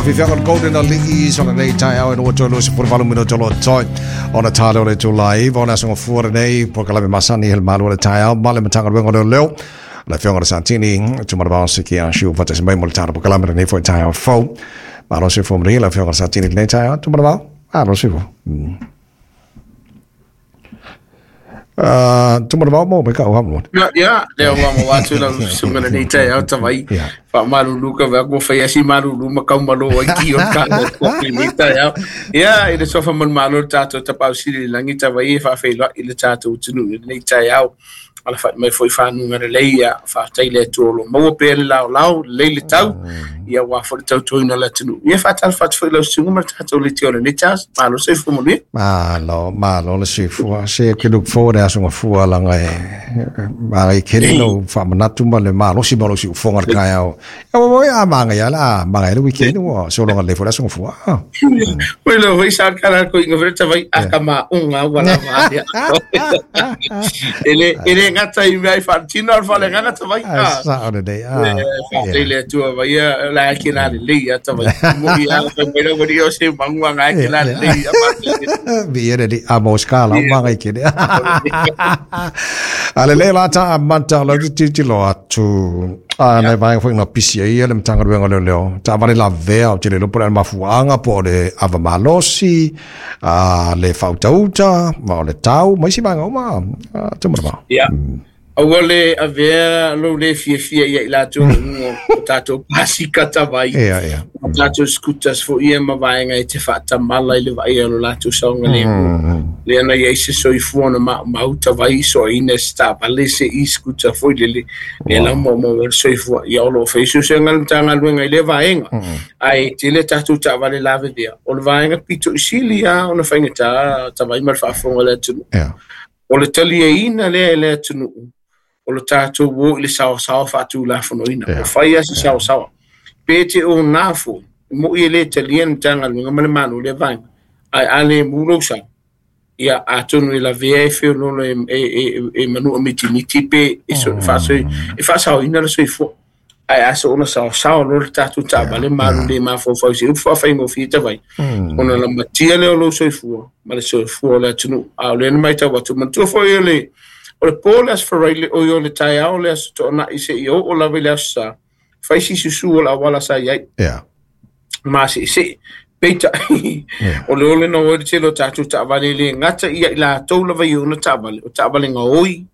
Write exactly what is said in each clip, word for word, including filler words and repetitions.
Afifianga Golden Ali'i o lenei taeao e lua tolu sefulu valu minute o lo o toe ona tā lea o le itula e iva o le aso gafua lenei polokalame masani i le malu o le taeao ma le Matagaluega o Leoleo le Afioga i le Satini Tumanavao Sikiasiu faatasi mai mo le tatou polokalame lenei foi taeao fou. Malo soifua manuia le Afioga i le Satini i lenei taeao Tumanavao. Malo soifua. Tumanavao mo mai ka'u faamolemole. Ia, ia, lea ua maua atu lau susuga lenei taeao tavai. Ia. Faamalulu ka vea ua fai asi malulu ma kaumalo ai ki o le tatou i lenei taeao. Ia, i le sofa manumalo le tatou tapausili i le lagi tavai e faafeiloai le tatou atunuu i lenei taeao. Alafai mai foi whanunga le lei, ia whaatai le atua o lo maua pea le lao lao, lei le tau, ia wā fo le tautoina le atunuu. Ia whaatala whaatu foi lau susuga ma le tatou leitio o lenei taeao. Malo soifua manuia. Malo, malo le soifua. Se ke look forward e aso gafua laga e magai kele lou faamanatu ma le malosi ma lou siufoga le taeao. Ia ua ua a magai a la magai le weekend ua sologa lelei foi le aso gafua. Ah. Oi lo foi sa kala ko inga fere tavai aka ma unga wala ma ia. Ele ele ngata i mea i whaatino al whale nganga tavai. Ai sa o lenei. Ah. Whaatai le atua vai ia la ki la le lei a tavai. Mo ia whai mai rawa o se mangua ngā ki la le lei a whaatai. Vi e le a mo skala o magai kele. A le le la ta a manta o lau te titilo atu. A nai vaega foi na pisi ai ia le Matagaluega o Leoleo. Taavale lavea o te le iloa po o le mafuaaga po o le ava malosi, a le faautauta, ma o le tau, ma isi vaega uma. Tumanavao. Ia. Aua le avea lou le fiafia ia i latou i luga o tatou pasika tavai. Ia, ia. O tatou scooters foi ia ma vaega e te faatamala i le vaaia o lo latou saogalemu. Lea na iai se soifua na maumau tavai soaina se taavale se e-scooter foi lele. Lea la maumau ai le soifua. Ia o loo fai suesuega le Matagaluega i lea vaega. Ae tele tatou taavale lavevea. O le vaega pito i sili lava ona faigata tavai ma le faafofoga o le atunuu. O le taliaina lea e le atunuu o le tatou o i le saosaoa faatulafonoina. O fai a se saosaoa. Pe te o nā foi, mo i e le talia le Matagaluega ma le Malo lea vaega. Ae a le mu lou sao, ia atonu e lavea e feololo e, e, e, e manua mitimiti pe e, so, e faasaoina le soifua. Ae a so ona saosaoa lo le tatou taavale malu le mafaufau se upu faafaigofie tavai. Ona lamatia lea o lou soifua ma le soifua o le atunuu. A o lea na matau atu manatua foi o le o le po le aso Faraile o i o le taeao le aso Toonai se i oo lava i le aso Sa, fai si susu o le auala sa iai. Yeah. Ma seesee. Peitai, o le ole na oi le tele o tatou taavale le gata ia i latou lava i ona taavale, o taavale gaoi,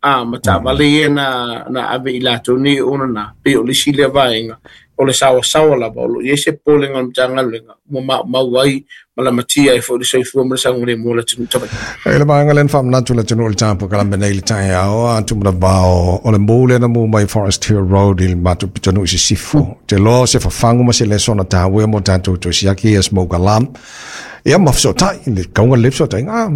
a ma taavale ia na, na ave i latou nei ona na, pei o le isi lea vaega, o le saoasaoa lava, o lo o i ai se popolega o le Matagaluega, ua maumau ai ma lamatia ai foi le soifua ma le saogalemu o le atunuu tavai. E le vaega lea na faamanatu le atunuu i le tapokalape nei i le taeao, a Tumanavao o le mu lea na mu mai Forest Hill Road i le matou pitonuu i Sisifo. Te loa se fafagu ma se leso na tāua mo tatou toe siaki ia smoke alarm. Ia ma fesootai, le kauga le fesootaiga, ah,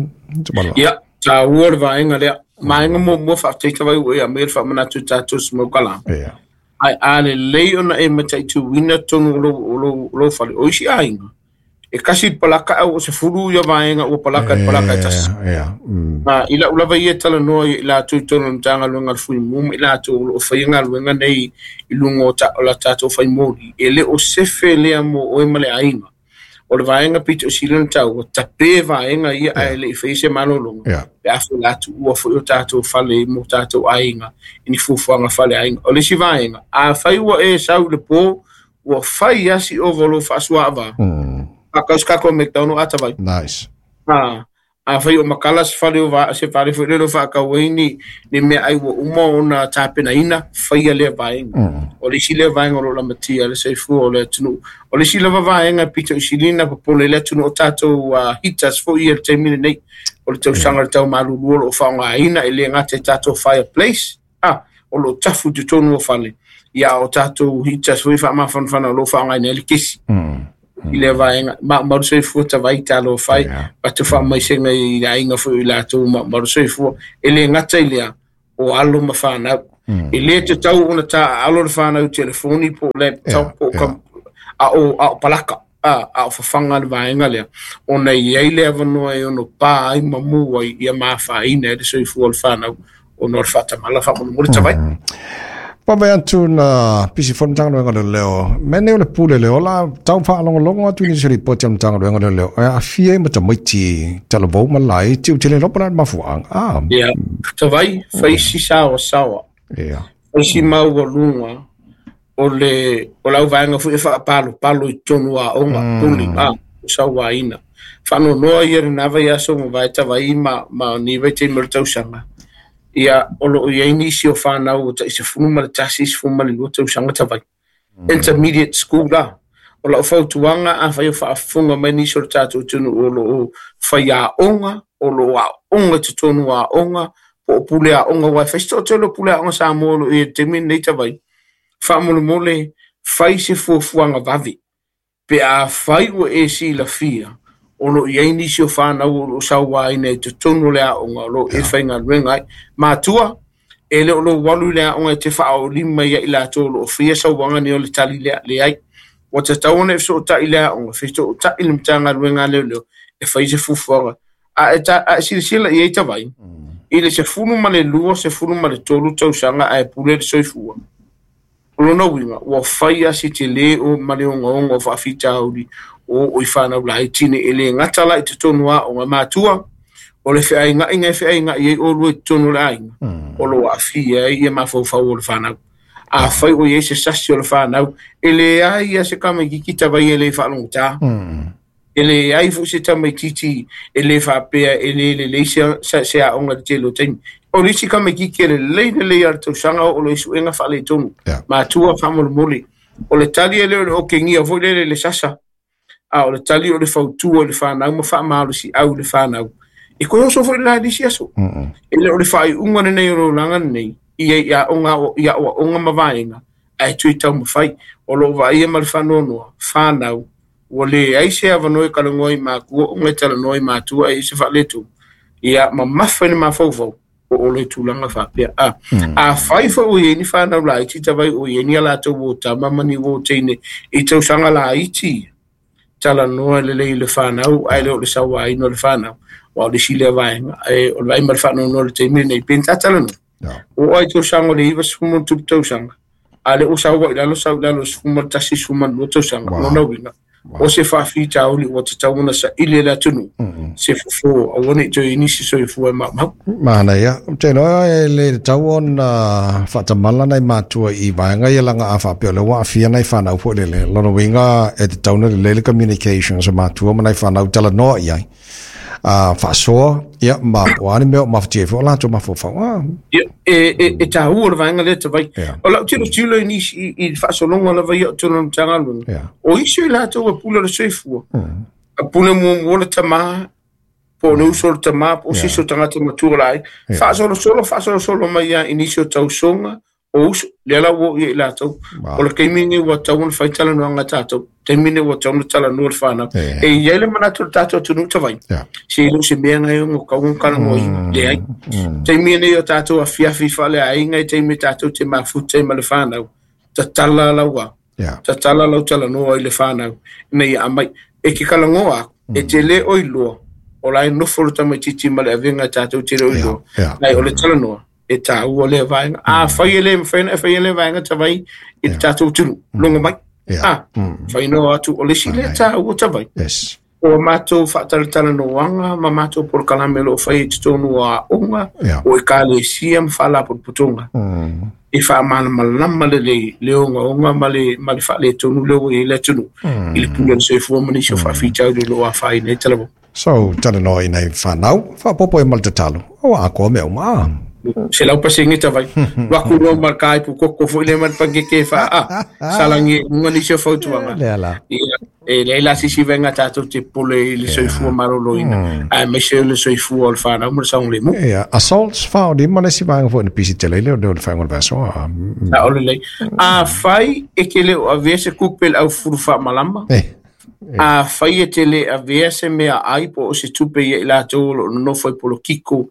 Tumanavao. Ia, tāua le vaega lea. Maenga muamua faafetai tavai ua ia mai le faamanatu i tatou smoke alarm. Ia. Ai a lelei ona e mataituina tonu o lou, lou, lou fale. O isi aiga, e kasi le palaka au o se fulu ia vaega ua palaka i le palaka e tasi. Ia, mm. A, i lau lava ia talanoa i latou i totonu o le Matagaluega o le Fuimu ma i latou o loo faia galuega nei i luga o, ta, o la tatou faimoli. E le o sefe lea mo oe ma le aiga. O le vaega pito i sili ona taua, tape vaega ia ae le i faia se malologa. Yeah. Pe a foi latou ua foi o tatou fale mo tatou aiga, i ni fuafuaga fale aiga. O le isi vaega, a fai ua e sau i le po, ua fai asi ova o lou faasuaava. Mm. Faakau se kako McDonald a tavai. Nice. A, a fai o makala se fale o va, se fale foi lea o faakau ai ni, ni mea ai ua uma ona tapenaina, faia lea vaega. Mm. O le isi lea vaega o lo o lamatia le soifua o le atunuu. O le isi lava vaega pito i silina popole i le atunuu o tatou uh, heaters foi ia le taimi lenei. O le tausaga le tau malulu o lo o faaaogaina e le gata i tatou fireplace. Ah, o lo o tafu i totonu o fale. Ia o tatou heaters foi faamafanafana o lo o faaaogaina ai le kesi. Mm. I lea vaega, maumau le soifua tavai talo fai, Yeah. atu faamaisega i aiga foi i latou maumau le soifua. E le gata i lea, o alo ma whanau. Mm. E le te tau ona tā alo le whanau telefoni po laptop po Yeah, kam, a o, a o palaka, a, a o whawhanga le vaega lea. Ona i ai le avanoa e ono pā ai ma mua i ia mawhaina e le soifua o le whanau, ona o le whaatamala whaamolemole tavai. Mm. Pa atu na pisi fo Matagaluega o Leoleo. Mea o le pule le ola tau faalogologo atu i nisi o lipoti a le Matagaluega o Leoleo. E aafia ai ma tamaiti talavou ma laiti ou te le iloa po o le a le mafuaaga. Ah. Ia, tavai, fai si saoasaoa. Ia. Fai si maualuga o le o le auvaega foi e faapalopalo i totonu o aoga, pule, a, sauaina. Faanoanoa ia lena vaiaso ma vae tavai ma, ma ni vaitaimi o le tausaga. Ia, o loo i ai nisi o whanau o tai sefulu ma le tasi, sefulu ma le lua tausaga tavai. Intermediate school la. O lau fautuaga a fai o faafofoga mai nisi o le tatou atunuu o loo faiaoga, o loo aoga i totonu o aoga, po o pule aoga, aua e fai se toatele o pule aoga Samoa o loo i ai i le taimi lenei tavai. Faamolemole, fai se fuafuaga vave. Pe a fai ua e silafia, o loo i ai nisi o whanau o loo sauaina i totonu o le aoga, o loo e faigaluega ai. Matua, e le o lou alu i le aoga e te faaolima ia i latou o loo faia sauaga nei o le tali lea leai. Ua tatau ona e fesootai i le aoga, fesootai i le Matagaluega a Leoleo, e fai se fuafuaga. A e ta, a e silasila i ai tavai, i le sefulu ma le lua, sefulu ma le tolu tausaga ae pule le soifua. O lona uiga, ua fai a se tele o ma le ogaoga o faafitauli o o i whanau laiti nei e le gata la i totonu aoga. Matua, o le feaigaiga e feaigai ai oulua i totonu o le aiga, o loo aafia ai ia mafaufau o le whanau. A fai o i ai se sasi o le whanau, e leai ia se tamaitiiti tavai e le faalogotā. E leai foi se tamaitiiti e le faapea e le lelei se, se, se aoga i le tele o taimi. O le isi tamaitiiti e lelei lelei a le tausaga o lo i suega faaletonu. Yeah. Matua faamolemole. O le tali e le o le okegia foi lele le sasa. A o le tali o le fautua i le whanau ma faamalosi au i le whanau. E koe oso foi le la nisi aso. E le o le faaiuga lenei o le olaga lenei, ia i aoga o i aoaoga ma vaega, ae tui taumafai. O loo vaaia ma le faanoanoa, whanau, ua leai se avanoa e talanoa i matua, ona e talanoa i matua e i se faaletonu. Ia mamafa i le mafaufau, o o le tulaga faapea. A, a fai foi o i ai ni whanau laiti tavai o i ai ni a latou uo tama ma ni uo teine i tausaga laiti, talanoa lelei i le whanau, ae le o le sauaina o le whanau. Wa o le isi lea vaega, e o le vaai ma le faanoanoa i le taimi lenei, pe ni tā talanoa. Yeah. O ai tausaga o le iva sefulu ma ona tupu tausaga, a le o sau ai lalo, sau i lalo sefulu ma le tasi, sefulu ma le lua tausaga. Wow. Lona uiga, Wow. o se faafitauli ua tatau ona saili e le atunuu, se fofo, aua nei toe i nisi soifua e maumau. Manaia. Ou te iloa e le tatau ona faatamala nai matua i vaega ia laga a faapea o le ua aafia nai whanau foi lele. Lona uiga e tatau ona lelei le communication sa matua ma nai whanau talanoa i ai. Uh, faasoa, ia, ma o a ni mea o mafatia ai foi o latou mafaufau. Ah, Ia, e, e, e tāua o le vaega lea tavai. Yeah. O lau tilotilo i nisi i, i le faasologa lava ia o totonu o le Matagaluega. Yeah. O isi o i latou e pule o le soifua. A pule muamua le tamā, po o le uso o le tamā, po o se isi o tagata matua la ai. Yeah. Faasolosolo, faasolosolo mai ia i nisi o tausoga, o uso, lea la ua oo ia i latou. Wow. O le taimi lenei ua tatau ona fai talanoaga a tatou. Taimi lenei ua tatau ona talanoa le whanau. Yeah. E i ai le manatu o le tatou atunuu tavai. Yeah. Se i le o se mea ngai o kau ona talanoaina. Leai. Taimi lenei o tatou afiafi faaleaiga, i taimi e tatou te mafuta ai ma le whanau. Tatala laua. Yeah. Tatala lau talanoa i le whanau. Ina ia aumai. E ke talanoa aku, e te le o iloa. O la e nofo le tamaitiiti ma le avega e tatou te le o iloa. Yeah. Nai o le talanoa, e tāua lea vaega. A fai e le mafai ona e faia lea vaega tavai i le tatou atunuu. Logo mai. Yeah. A, fai noa atu o le isi lea tāua tavai. Yes. O mātou faatalatalanoaga ma mātou polokalame o loo fai i totonu o aoga, Yeah. o ekalesia ma faalapotopotoga. Mm. E faamalamalama lelei le ogaoga ma le ma le faaletonu lea ua i ai le atunuu i le pule o le soifua ma nisi o faafitauli o loo afaina ai talavou. So, talanoa i nai whanau, faapopo e ma le tatalo. O akoa mea uma. Ah. Se lau pasenge tavai. Waku loa ma le kaipu koko foi lea ma le pankeke faa. Ah, salangi e uga nisi o fautuaga. Lea la. Ia, e leai la sisi vaega tatou te pule i le soifua malōlōina. Aemaise o le soifua o le whanau ma le saogalemu. Ia, assaults faaolima le isi vaega foi na pisi tele i le o le whainga o le vaso. Ah, mm. Sa o lelei. A fai e ke le o avea se kupe le au fulu faamalama. Eh. A fai e te le avea se mea ai po o se tupe ia i latou o loo nonofo i polokiko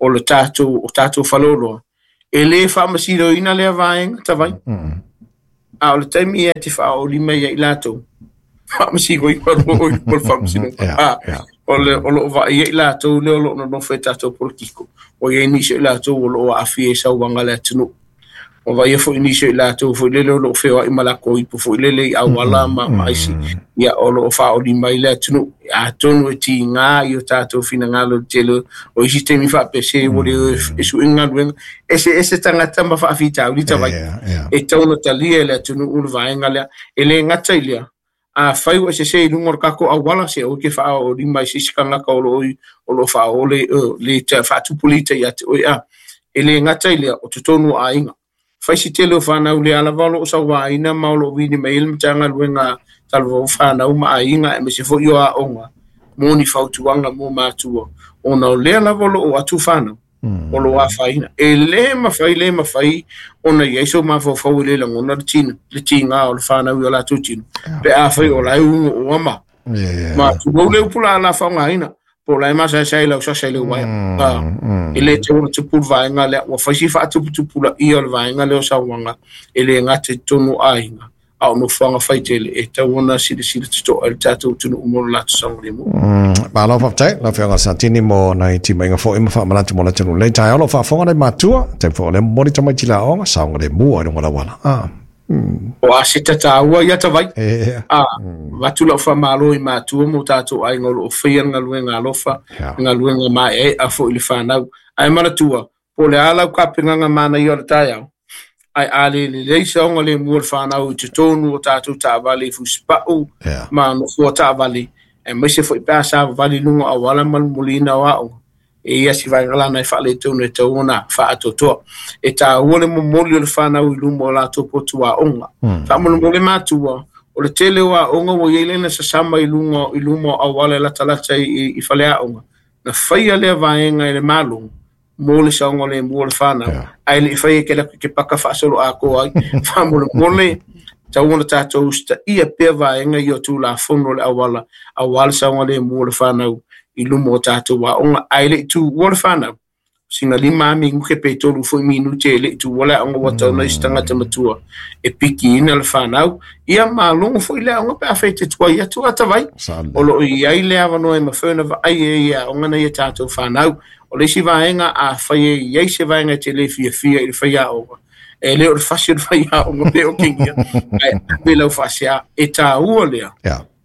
o le tatou o tatou faleoloa. E le faamasinoina lea vaega tavai. A o le taimi ia te faaolima ia i latou. Faamasinoina loa o i luma o le faamasinoga. Yeah, A, yeah. o le o loo vaaia i latou lea o loo nonofo i tatou polokiko. O iai nisi o i latou o loo aafia i sauaga le atunuu. O vai foi nisi i latou foi lele o loo feoai ma lakou ipu foi lele i auala ma ma isi ia o loo faaoli mai le atunuu atonu e tiga i o tatou finagalo le tele o isi taimi faapese ua le e suʻiga galuega eseese tagata ma faafitauli tavai e tau ona talia e le atunuu le vaega lea e lē gata i lea afai ua sese i luga o le tatou auala se oi ke faaolima i se isi tagata o loo o loo faaole le faatupulita ia te oe a e lē gata i lea o totonu o aiga faisi tele o fanau le alava o loo sauaina ma o loo vili mai ai le Matagaluega talavou fanau ma aiga aemaise foi o aoga mo ni fautuaga mo matua ona o lea lava o loo atu fanau o loo afaina e lē mafai lē mafai ona iai so mafaufau i le lagona le tino le tiga o le fanau i o latou tino pe afai o lae ugu oa ma ma tulou le upu la la faaaogaina po o lae masaesae lau sasa i le uaea e lē tau ona tupu le vaega lea ua faisi faatuputupulaia o le vaega lea o sauaga e lē gata i totonu o aiga a o nofoaga faitele e tau ona silasila totoa i le tatou atunuu mo le latou saogalemu. Malo faafetai lau Afioga Santini mo nai timaiga foi ma faamanatu mo le atunuu lenei taeao o loo faafofoga nai matua taimi foi o lea momoli tamaiti i le aoga saogalemu ai luga o le auala a o a se tataua ia tavai a avatu lau faamalo i matua mo tatou aiga o loo faia le galuega alofa galuega maeaea foi i le fanau ae manatua po o le a lau kapegaga manaia o le taeao ae a le lelei saogalemu o le fanau i totonu o tatou taavale i fusipau ma nofoa taavale aemaise foi pe a savavali i luga o auala ma le momoliina o aoga e ia si vaega lana e faaletonu e tau ona faatoatoa e taua le momoli o le fanau i luma o latou potu aoga faamolemole matua o le tele o aoga ua iai lena sasama i luga i luma o auala e latalata i, i faleaoga na faia lea vaega e le Malo mo le saogalemu o le fanau ae leʻi faia ke laku ke paka faasolo atoa ai faamolemole tau ona tatou usitaia pea vaega ia o tulafono o le auala auā le saogalemu o le fanau i luma o tatou aoga ae leʻi tuua le fanau sina lima a minute pe tolu foi minute e leʻi tuua le aoga ua tau isi tagata matua e pikiina le fanau ia malogo foi le aoga pe afai te tuai atu atavai o loo iai le avanoa e mafai ona vaai e ia aoga na ia tatou fanau o le isi vaega afai e iai se vaega e te lē fiafia i le faiaoga e lē o le fasi o le faiaoga pe o kegia ae ave lau faasea e taua lea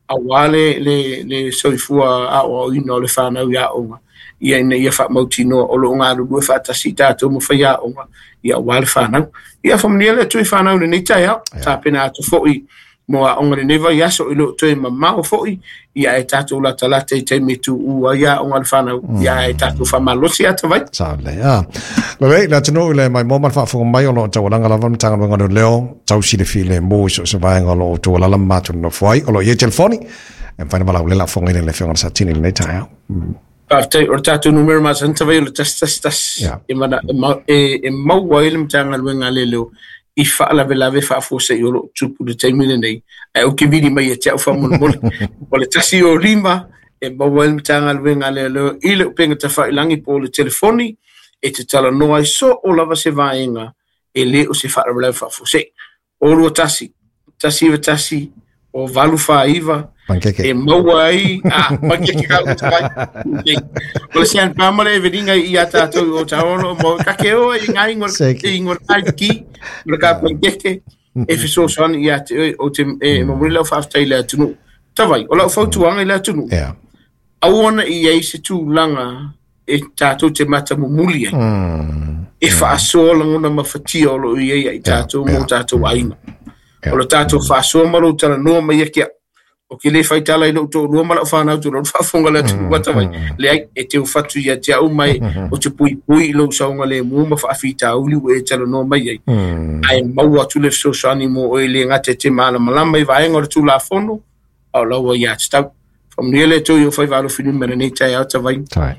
auā le le le soifua aoaoina o le fanau i aoga ia ina ia faamautinoa o loo galulue faatasi tatou ma faiaoga ia auā le fanau ia faamanuia le Atua i fanau lenei taeao tapena atu foi mo aoga lenei vaiaso i loo toe mamao foi ia e tatou latalata i taimi e tuua ai aoga le fanau ia e tatou faamalosi atavai Saole a lelei le atunuu i le maimoa ma le faafofoga mai o loo taualaga lava le Matagaluega o Leoleo tau silafia lemu i so o se vaega o loo tualala ma matou nonofo ai o loo i ai telefoni e mafai ona valaaulela afofogaina i le Afioga Satini lenei taeao. Faafetai o le tatou numera masani tavai o le tasi tasi tasi e mana e e maua ai le Matagaluega a Leoleo i faalavelave faafuasei o loo tupu i le taimi lenei ae ou te vili mai ia te au faamolemole o le tasi o lima e maua ai le Matagaluega a Leoleo i le upega tafailagi po o le telefoni e te talanoa ai so o lava se vaega e lē o se faalavelave faafuasei o lua tasi tasi iva tasi o valu fāiva Pankeke. E maua ai a pankeke ka uta mai o le San Pama le eveninga i a tātou o taolo mo kake oa i ngā ingoa Seki. i ingoa kai ki o le ka pankeke e fesoasoani ia te oe o te e momoli lau faafetai i le atunuu tavai o lau fautuaga i le atunuu Yeah. aua na i ai se tulaga e tātou te matamumuli ai Mm. e faasoa lagona mafatia o loo iai ai tātou mo yeah. tātou aiga Yeah. o le tātou faasoa ma lou talanoa mai ia ke o ke le faitala i lou toalua ma lau fanau tulou le faafofoga le atunuu atavai leai e teu fatu ia te au mai o te puipui i lou saogalemu ma faafitauli ua e talanoa mai ai Mm. ae maua atu le fesoasoani mo oe le gata e te malamalama i vaega o le tulafono a o laua ia tatau faamanuia le Atua i o faivaalofilima lenei taeao tavai Tai.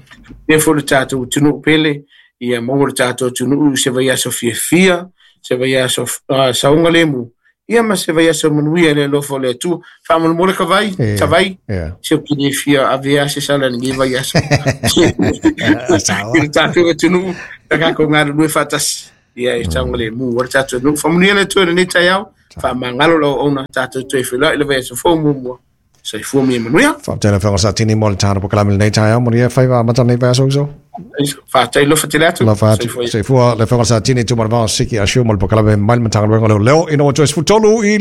lea foi le tatou atunuu pele ia maua le tatou atunuu se vaiaso fiafia se vaiaso uh, saogalemu ia ma se vaiaso manuia i le alofa o le Atua faamolemole ka vai Yeah. tavai Yeah. se o kile fia avea se sala lenei vaiaso Sawa. i le tatou atunuu na kakou galulue faatasi ia e saogalemu o le tatou atunuu faamanuia le Atua i lenei taeao faamagalo lau auauna tatou toe feiloai i le vaiaso fou muamua soifua ma ia manuia Faafetai le Afioga Satini mo le tano po kalame lenei taeao mo ia faiva amata lenei vaiaso uso. Faafetai lofa tele atu. Lofa atu. Soifua le Afioga i le Satini Tuimalealiifano Siki Ah Sue ma le polokalame mai le Matagaluega o Leoleo ina ua toe sefulutolu i